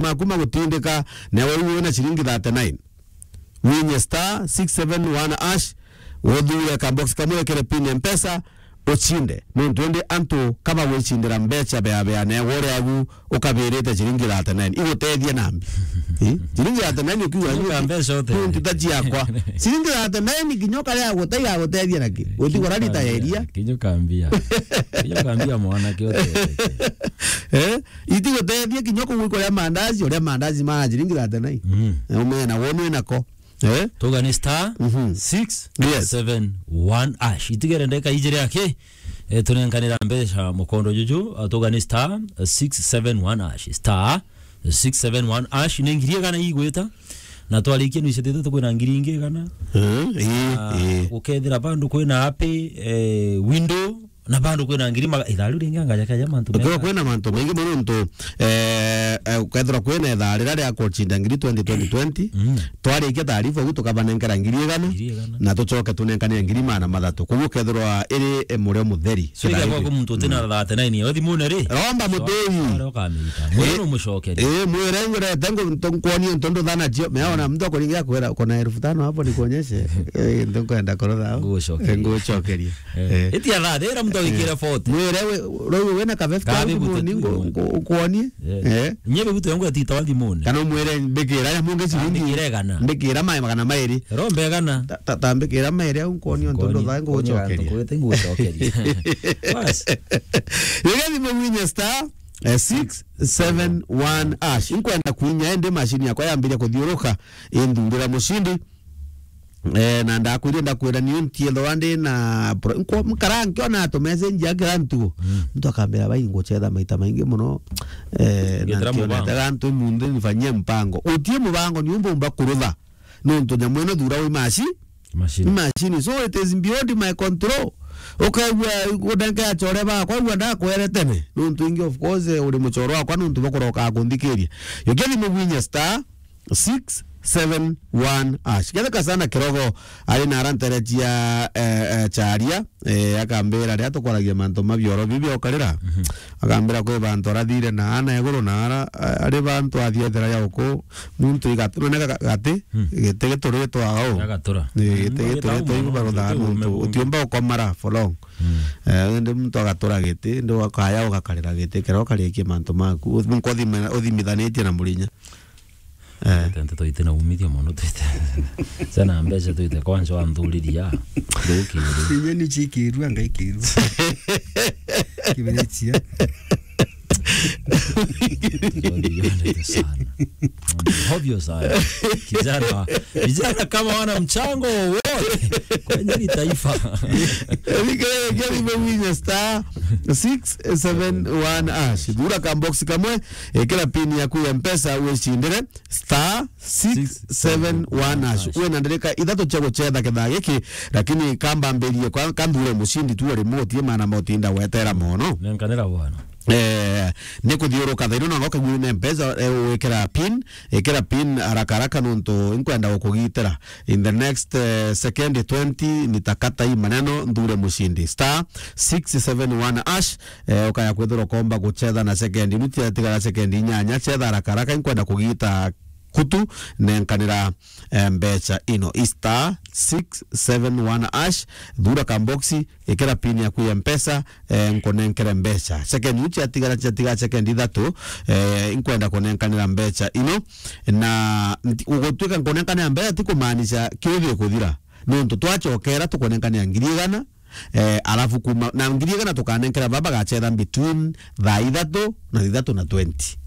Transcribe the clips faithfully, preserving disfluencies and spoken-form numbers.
maku magutindika, na we wina ciringi thirty-nine. Winye star six seven one hash, uthure ka box kamwe, wikire pin ya Mpesa, ucinde. Nontu indi antu kaba gwicindira mbeca bea bea, na we uri agu ukabirite ciringi thirty-nine. Igutethia nambi? Eh? Ciringi thirty-nine ukiuga, Kinya ka mbeca utethia. Nontu ta ciakwa. Ciringi thirty-nine kinya ukaria gutethia, gutethia naki? Utigura rita ya iria. Kinya ka mbia. Kinya ka mbia mwanake utethia. Eh? Itigutethia kinya kugwikwa ria mandazi, uria mandazi ma ciringi thirty-nine. Mm. Na umena wonwe nako. Eh? Tuga ni star Mhm. six seven one hash. Itigere ndeka ijiri aki, eh, tunenkanira mbeca mukondo juju, ah, tuga ni star six seven one hash. Star six seven one hash, ni ngiri igana igwita. Na twarikia nuicetete tukwina ngiri ingi igana. Eh, eh, Ah, eh. Gukethira bandu kwina happy, eh, window, na bandu kwina ngiri maga-, ithaa riu ringi angaja kaja mantu Ukiwa mega. Kwina mantu maingi mono ntu, eh, eh, ukethirwa kwina ithaa riria ria kucinda ngiri twenty twenty twenty, Mm. twarikia taarifa ugu tukabanenkera ngiri igana, Ngiri igana. Na tucoke tunenkane ngiri magana mathatu. Koguo ukethirwa iri, eh, murio mutheri. So, ithaa iga giri. Kwa muntu utina Mm. thirty-nine, we thimune ri? Romba So, mutei. Aria ukamita. Mwe Eh, numucokerie. Eh, mwire ngurete ngu-, ntu-, nkuonie ntu nduthana cio. Meona mtu akuringia kwira, "Kuna elfu tano hapo nikuonyeshe." Eh, ntu nkwenda kurutha au. Ngucokerie. Eh, ngucokerie. Eh. Eh. Itia thaa, thira muntu agikire Eh. forty. Mwire we, riu wina ka fifty Kabi au bute moni, tu ngu-, moni. Ngu-, nkuonie. Eh. Eh. Nye bibutu yangu yatita wa thimune. Kana umwire mbikira ya mungi ciringi. Ambikire igana. Mbikira mai magana mairi. Rombe igana. Ta, ta, ta mbikira mairi au nkuonie ntu Nkuonie, nduthana nkuonie antu ngucokerie. Nkuonie ngucokerie. Bas. Rigia thimu winye star, eh, six seven one hash. Inkwenda kwinya indi machine yakwa yambiria kuthiuruka, indundira mucindi. Eh, na ndakwire, ndakwira ni untiethwa ndi na pro-, nkwa-, nkara nkiona tu message ya kila ntugo. Mm. Muntu akambira, "Bai, ngucetha maita maingi muno." Eh, na Ngitira nkiona mubango. Tega ntu munthi nifanyie mpango. Utie mubango ni umba umba kurutha. Nontu nyamu ino thura wi maci-, Machine. Machine. So it is beyond my control. Ukaigua udenkeachore bakwa, igua ndakwere tene. Nontu ingi, of course, uri muchoro wakwa, nontu bakuroka kunthikiria. Yukia thimu gwinya star six seven one hash. Ketheka sana kirogo, ari na aranteretia, eh, eh, charia, eh, akambira, "Ria tukwaragia mantu ma bioro bibi okarira." Mhm. Akambira, "Kwi bantu arathire na ana iguru na ara, a-, ari bantu athiethera ya uku, muntu igatu-, none ga-, gati, Hmm. giti gituritwa au." Gagatura. Ni giti Mm, gituritwa gitau iguru mono, barutha gitau nuntu, ume utiumba ukomara for long. Hmm. Eh, indi muntu agatura giti, indi ukaya ugakarira giti, kira ukarikia mantu maku, u-, nkothima-, uthimithanitie na murinya. Eh. Tente twite na umithio mono twite. Sana mbeca twite kwanja wa nthuriria. Ndukiri. Inya ni chikirua, ngaikirua. Kiberetia. Sana. Ovyo sana. Kijana, vijana kama wana mchango wowote kwenye hili taifa. Rike, rike, rike, star six seven one hash. Thura ka box kamwe, ikira pin yaku ya Mpesa, wicindire star six seven one hash. Wina ndereka ithatu cia gucetha kithaa giki, lakini kambambirie kwa, kanthure mucindi tu ari moti, maana motinda gwetera mono. Nenkanira bwana. Eh, ni kuthiuruka thaino na ngoka gwine Mpesa, eh, wikira pin, ikira pin haraka haraka nontu inkwenda gukugitira. In the next, eh, second twenty, nitakata hii maneno, nthure mucindi. Star six seven one hash, eh, ukaya kwithirwa ukomba gucetha na second. Iu tiatigara second inyanya, cetha haraka haraka, inkwenda kugita kutu, nenkanira, eh, mbeca ino. I star six seven one hash, thura ka box, ikira pin yaku ya Mpesa, eh, nkunenkere mbeca. Second iu ciatigara, ciatigara second ithatu, eh, inkwenda kunenkanira mbeca ino. Na nti-, gutwika nkunenkanira mbeca ti kumaanisha kiu gikuthira. Nontu twacokera tukunenkanira ngiri igana, eh, alafu kuma, na ngiri igana tukanenkera baba gacetha between thaa ithatu na thithatu na twenty.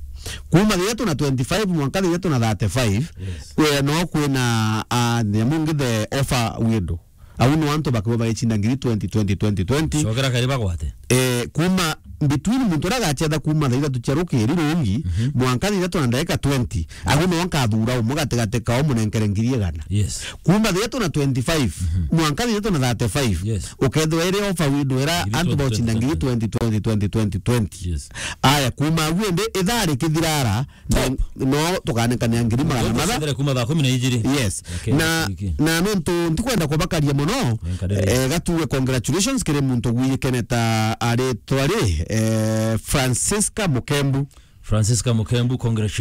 Kuma thithatu na twenty-five mwanka thithatu na thirty-five, Yes. we no kwina, ah, nyamu ngi the offer window. Au no antu bakiwa bagichinda ngiri twenty, twenty, twenty, twenty. Cokera kari bagwate. Eh, kuma between muntu uria agacetha kuma thaa ithatu cia rukiri rungi, Mhm. mwanka thaa ithatu na ndagika twenty, agu no nkathura umwe gatigati kao munenkere ngiri igana. Yes. Kuma thaa ithatu na twenty-five, Mhm. mwanka thaa ithatu na thirty-five, Yes. ukethirwa iri offer window ira Ngiri antu twenty, bauchinda ngiri twenty, twenty, twenty, twenty, twenty. Yes. Aya, kuma agu indi ithaa rikithirara, Top. No, no tukanenkania ngiri magana matha. Tukanenkania kuma thaa kumi na ijiri. Yes. Okay, Na, wiki. Na nontu ntikwenda kubakaria mono, Nenkanire. Eh, gatuwe congratulations kiri muntu gwiyikene ta aritwa ri, eh, Francisca Mukembu. Francisca Mukembu, congratulations.